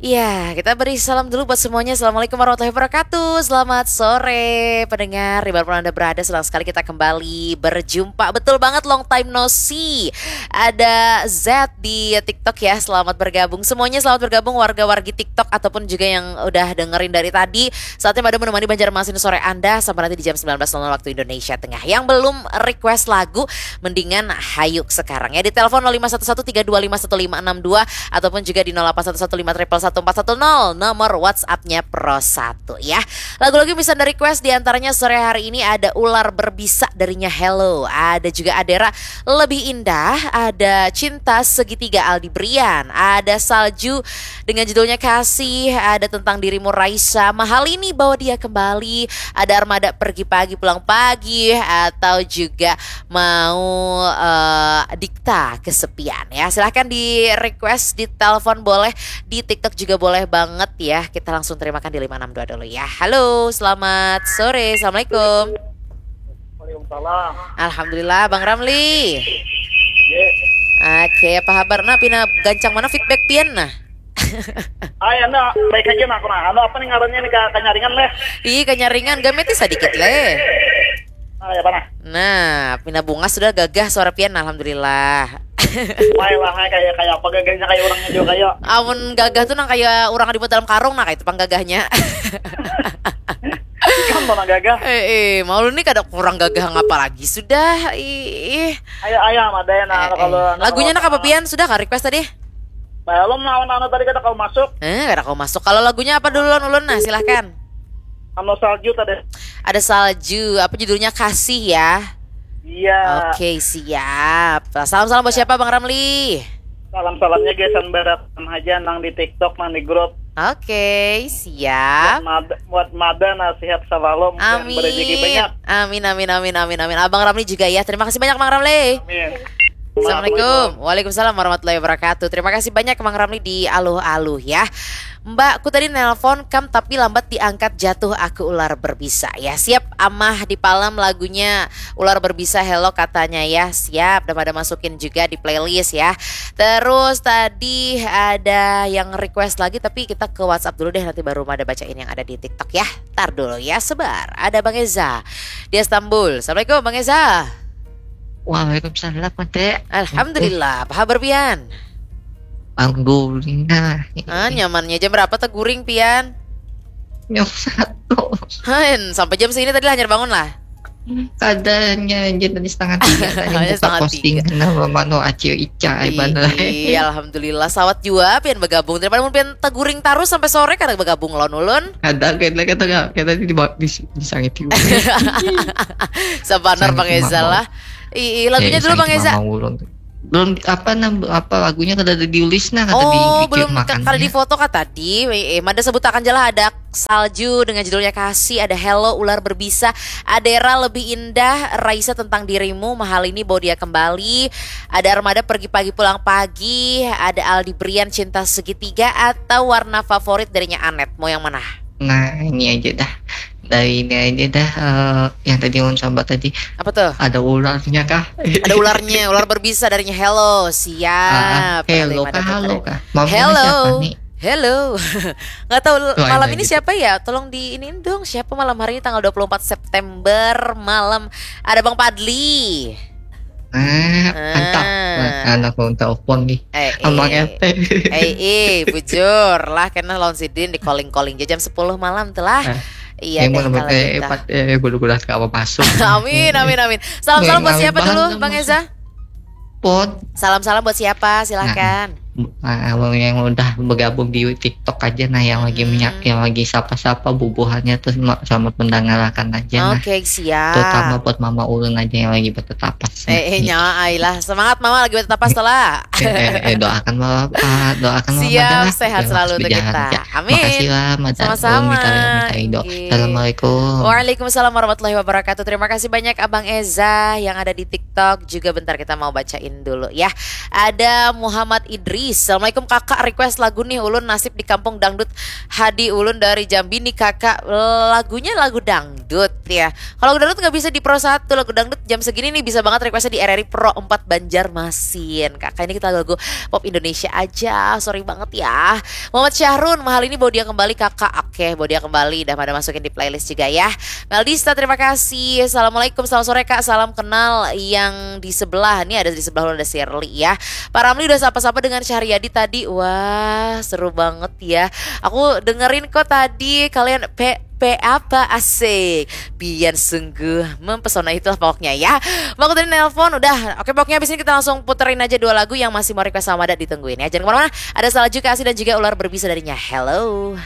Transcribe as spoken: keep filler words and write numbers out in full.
Ya, kita beri salam dulu buat semuanya. Assalamualaikum warahmatullahi wabarakatuh. Selamat sore, pendengar. Di mana pun Anda berada, senang sekali kita kembali berjumpa. Betul banget, long time no see. Ada Z di TikTok ya, selamat bergabung. Semuanya selamat bergabung, warga-wargi TikTok ataupun juga yang udah dengerin dari tadi. Saatnya Mada menemani Banjarmasin sore Anda sampai nanti di jam sembilan belas nol nol waktu Indonesia Tengah. Yang belum request lagu, mendingan hayuk sekarang ya. Di telepon nol lima satu satu tiga dua lima satu lima enam dua ataupun juga di nol delapan satu satu lima triple satu empat satu nol, nomor WhatsApp-nya Pro satu ya. Lagu-lagu yang bisa Anda request di antaranya sore hari ini ada Ular Berbisa darinya Hello, ada juga Adera Lebih Indah, ada Cinta Segitiga Aldi Brian, ada Salju dengan judulnya Kasih, ada Tentang Dirimu Raisa, Mahal Ini Bawa Dia Kembali, ada Armada Pergi Pagi Pulang Pagi, atau juga mau eh, Dikta Kesepian ya. Silahkan di request, di telepon boleh, di TikTok juga boleh banget ya. Kita langsung terimakan di lima enam dua dulu ya. Halo, selamat sore. Assalamualaikum. Waalaikumsalam. Alhamdulillah, Bang Ramli. Ye. Oke, apa kabar? Nah, pina gancang mana feedback pian nah? Ay, anda baik aja nah, nah. Anu apa nih ngarannya nih ka- kanyaringan leh? Ih, kanyaringan, gameti sedikit leh. Nah, ya apa nah? Nah, pina bungas sudah gagah suara pian, alhamdulillah. Wah lah, kayak kayak apa gagahnya kayak orangnya juga kayak. Amun gagah tuh nang kayak orang di dalam karung, nah kayak itu pang gagahnya. Kan mana gagah? Eh, eh, malu nih kada kurang gagah ngapa lagi sudah. Ih, ih. Ayo ayo sama ada ya nah Eh, kalau eh. Lagunya nak apa pian? Sudah kah request tadi? Belum lawan anu tadi kata kau masuk. Eh, kada kau masuk. Kalau lagunya apa dulu, Lon, Ulun? Nah, silahkan. Anu Salju tadi. Ada Salju. Apa judulnya? Kasih ya. Iya. Oke, siap. Salam-salam buat siapa, Bang Ramli? Salam-salamnya gesan baratan aja nang di TikTok, nang di grup. Oke, siap. Mad buat Mada nasihat salalom dan Amin. Berejeki banyak. Amin, amin, amin, amin, amin. Abang Ramli juga ya. Terima kasih banyak, Bang Ramli. Amin. Assalamualaikum. Waalaikumsalam warahmatullahi wabarakatuh. Terima kasih banyak, Bang Ramli, di aluh-aluh ya. Mbakku tadi nelpon kam tapi lambat diangkat, jatuh aku ular berbisa ya. Siap, Amah di Palem, lagunya Ular Berbisa, Hello katanya ya. Siap, udah pada masukin juga di playlist ya. Terus tadi ada yang request lagi, tapi kita ke WhatsApp dulu deh, nanti baru ada bacain yang ada di TikTok ya. Tar dulu ya, sebar. Ada Bang Eza di Istanbul. Assalamualaikum, Bang Eza. Waalaikumsalam, Mate. Alhamdulillah, apa kabar pian? Alhamdulillah. Ah, nyamannya jam berapa teguring pian? Nyok satu. Hen, sampai jam segini tadi hanyar bangun lah. Kadanya aja tadi setengah tiga tadi Hanya buka setengah posting tiga. Nah, mano acio ica ai bana. Iya, alhamdulillah sawat jua pian bergabung. Daripada mun pian teguring terus sampai sore kada bergabung lawan ulun. Ada kita kita kita di di di, di sangit juga. Sabanar Sangit Bang Eza mama. Lah. Ih, ih, lagunya Eh, dulu Bang sangit Eza. Mama ulun. Belum apa nam- apa lagunya kada ada diulis nah kada Oh, dibikin belum ke- makan. Kada difoto kah tadi? Eh, eh, Mada sebutakan je lah, ada Salju dengan judulnya Kasih, ada Hello, Ular Berbisa, Adera Lebih Indah, Raisa Tentang Dirimu, Mahal Ini Bawa Dia Kembali, ada Armada Pergi Pagi Pulang Pagi, ada Aldi Brian Cinta Segitiga, atau Warna Favorit darinya Anet. Mau yang mana? Nah, ini aja dah. Dari ini aja dah eh, yang tadi ulun sambat tadi Apa tuh? Ada ularnya kah? Ada ularnya, ular berbisa darinya Hello. Siap. Ah, ah. Hello Ada kah? yang ada Halo tadi. kah? Mau Hello. siapa nih? Hello. Nggak tahu Wah, malam ini ini gitu. Siapa ya? Tolong di ini dong. Siapa malam hari ini tanggal dua puluh empat September malam? Ada Bang Padli. Ah, mantap. Nah, anak ulun telepon nih. Eh, Abang eh. R T. Eh, eh, bujur lah, kena lawan sidin di calling-calling aja jam sepuluh malam tuh lah. Eh, Iya Yang deh mau kalau eh, gitu. Pat, eh, bulu-bulu apa masuk. Amin, amin, amin. Salam-salam buat Nah, siapa bahan dulu, dong, Bang Mas. Eza? Pot. Salam-salam buat siapa? Silahkan. Ah, abang yang udah bergabung di TikTok aja nah yang lagi Hmm. minyak yang lagi sapa-sapa bubuhannya tuh sema- selamat mendengarkan aja nah. Oke, siap. Terutama buat mama ulun aja yang lagi bertetapas. Eh, eh, nyawa ai lah. Semangat Mama lagi bertetapas tuh lah. Eh, eh, eh, doakan mama, ah, doakan mama Siap, dah, sehat biar selalu langsung untuk jalan kita. ya. Amin. Makasih lah, Mada. Sama-sama. Ulun minta, minta ridho. Inggih. Assalamualaikum. Waalaikumsalam warahmatullahi wabarakatuh. Terima kasih banyak Abang Eza yang ada di TikTok. Juga bentar kita mau bacain dulu ya. Ada Muhammad Idris. Assalamualaikum kakak, request lagu nih ulun, Nasib di Kampung Dangdut. Hadi ulun dari Jambi nih kakak, lagunya lagu dangdut ya. Kalau lagu dangdut nggak bisa di Pro satu, lagu dangdut jam segini nih bisa banget requestnya di R R I Pro empat Banjarmasin. Kakak, ini kita lagu pop Indonesia aja, sorry banget ya. Muhammad Syahrun, mahal ini bawa dia kembali kakak. Oke, bawa dia kembali, udah pada masukin di playlist juga ya. Meldista, terima kasih. Assalamualaikum, selamat sore kak, salam kenal yang di sebelah. Ini ada di sebelah ulun ada Shirley ya. Pak Ramli udah sapa-sapa dengan Syahriyadi tadi. Wah, seru banget ya. Aku dengerin kok tadi kalian pe pe apa, asik. Pian sungguh mempesona, itulah pokoknya ya. Mau tadi nelpon udah. Oke, pokoknya habis ini kita langsung puterin aja dua lagu yang masih mau request sama Mada, ditungguin ya. Jangan kemana-mana. Ada Salju Kasih dan juga Ular Berbisa darinya. Hello.